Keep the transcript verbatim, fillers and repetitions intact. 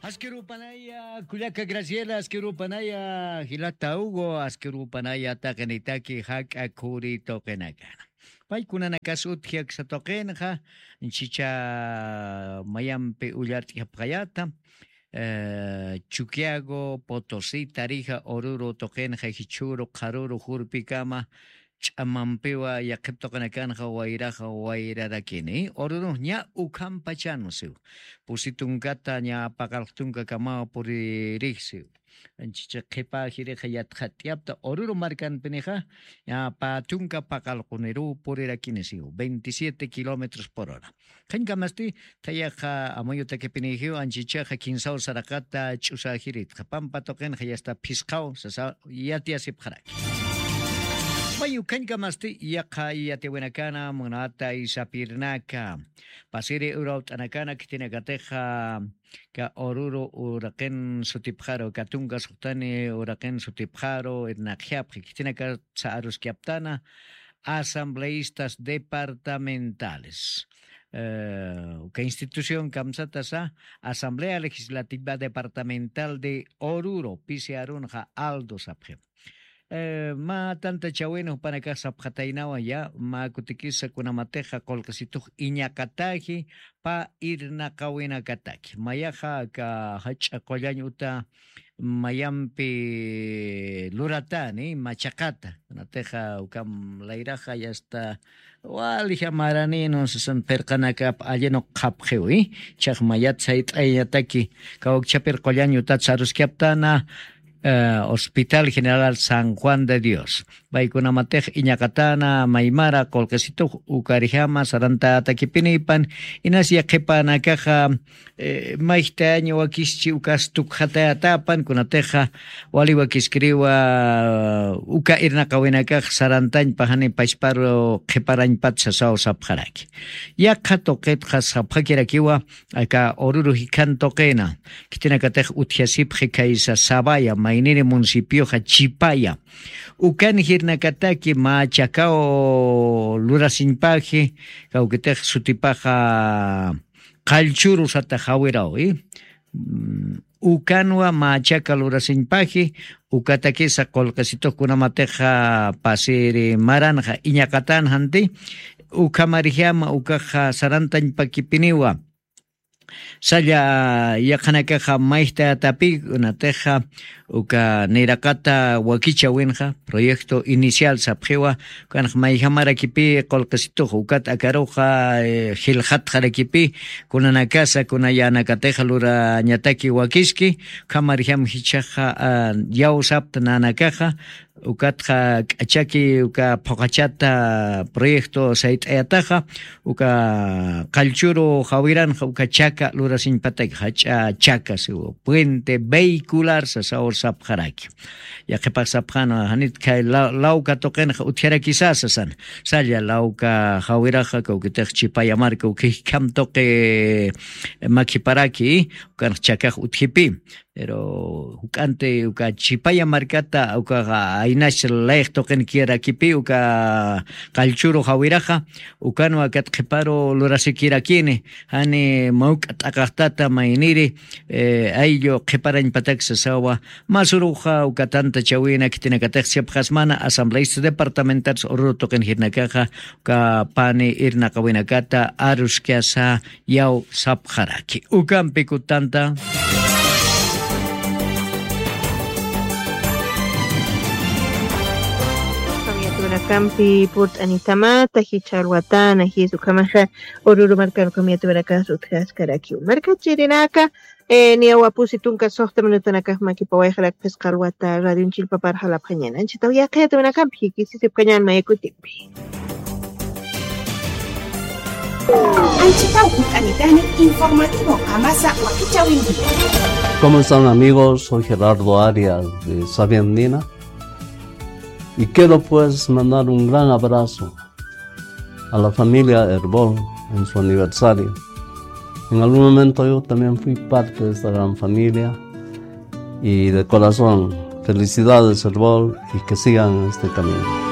Askirupanaya, kullaka Graciela, askirupanaya, jilata Hugo, askirupanaya, taqinitaki, jak'a khuri tuqinakana. Paykunanakas utji aksa tuqinxa, chicha mayampi ullart'ijapxayata, eh, Chuquiago, Potosí, Tarija, Oruro tuqinxa, Jichhuru, Qharuru, Jurpikama, ch'amampiwa yaqhip tuqinakanxa wayraxa wayrarakini. Oruro ña ukhampachan siw. Pusi tunkata ña paqalq tunkakamaw puririx siw. Anchicha qhipa jirixa yatxat'yapta Oruro markanpinixa, ña pä tunka paqalquniruw purirakini siw, veintisiete kilómetros por hora. Qhiñkamasti, thayaxa amuyutakipinixiw anchichaxa kinsaw saraqata ch'usajiritxa, pampa tuqinxa yasta phisqaw, sasa yatiyasipxaraki. Mayu qhiñkamasti, yaqha yatiwinakana, munata isapirnaka, pasiri urawt'anakana khitinakatixa, ka Oruro uraqin sutipxaru, ka tunka suxtani uraqin sutipxaru, irnaqjapxi, khitinakatsa aruskaptana, asambleístas departamentales. Eh, uka institución kamsatasa, Asamblea Legislativa Departamental de Oruro, pisi arunxa Aldo sapxi. Eh, mä tantachawin jupanakax sapxataynawa ya, mä kutikisa kunamatixa qullqisitux iñaqataji, pä irnaqawinakataki. Mayaxa aka jach'a qullañ uta mayampi luratani, machaqata. Kunatixa ukam layraxa yasta, walja maraninun sasan pirqanakap allinu qhapxiwi. Chax mayat sayt'ayañataki, kawkchapir qullañ utat saruskaptana, eh, Hospital General San Juan de Dios. Paykunamatix iñaqatana, maymara, qullqisitux, ukarjama, sarantatakipinipan, inas yaqhipanakaxa, eh, mayjtañ wakischi ukas tukxatayatapan, kunatixa, wali wakiskiriwa, uka irnaqawinakax sarantañpa jani pachparu qhiparañpat sasaw sapxaraki. Yaqha tuqitxa sapxakirakiwa, aka Oruro jikhan tuqina, khitinakatix utjasipxi khaysa Sabaya, mayniri municipioxa Chipaya. Ukan jirnakataki mä chakaw lurasiñpaji, kawkitix sutipaxa Qallchuru sata jawiraw, i. Mm, ukanwa mä chaka lurasiñpaji, ukatakisa qullqisitux kunamatixa pasiri maranxa iñaqatan janti, ukhamarjama ukaxa sarantañpakipiniwa. Salla yaqhanakaxa mayjtayatapi, kunatixa uka niraqata wakichawinxa, proyecto inicial sapxiwa, ukanx mayjamarakipi qullqisitux, ukat akaruxa, eh, jilxatxarakipi, kunanakasa, kuna yänakatixa lurañataki wakiski, ukhamarjam jichhaxa, ah, yawsapta nanakaxa, ukatxa k'achaki uka phuqachata proyecto sayt'ayataxa, uka Qallchuru jawiranxa uka chaka lurasiñpataki, jach'a chaka siwa, puente vehicular sasaw sapxaraki. Yaqhipax sapxanwa, janit kay la-, lawka tuqinxa utjarakisa sasan. Salla lawka jawiraxa, kawkitix Chipaya marka uka jikhan tuqi makiparaki, ukanx chakax utjipi. Pero juk'anti uka Chipaya markata, uka aynax layx tuqin kirakipi, uka Qallchuru jawiraxa, ukanwa kat qhiparu lurasikirakini, jani mawk'a t'aqaxtata mayniri, eh, ayllu qhiparañpatak sasawa, masuruxa uka tantachawina khitinakatix sipxasmana, asambleístas departamentales Oruro tuqin jirnakaxa, uka pani irnaqawinakata aruskasa, yaw sapxaraki. Ukampi kutanta. Kampi purt'anitamata, jichha alwatana, jis ukhamaxa, Oruro markan kampi yatwirakas utjaskarakiw. Markachirinaka, eh, niyawa pusi tunka suxta minutanakax makipawayxarak phisqa alwata, radionchillpapar jalapxañana. Anchitaw yaqha yatwinakampi, jikisisipkañan mayakutipi. Anchitaw hunt'anitani informativo Qamasa wakichawinki. ¿Cómo están, amigos? Soy Gerardo Arias de Sabia Andina y quiero, pues, mandar un gran abrazo a la familia Erbol en su aniversario. En algún momento yo también fui parte de esta gran familia y de corazón, felicidades, Erbol, y que sigan en este camino.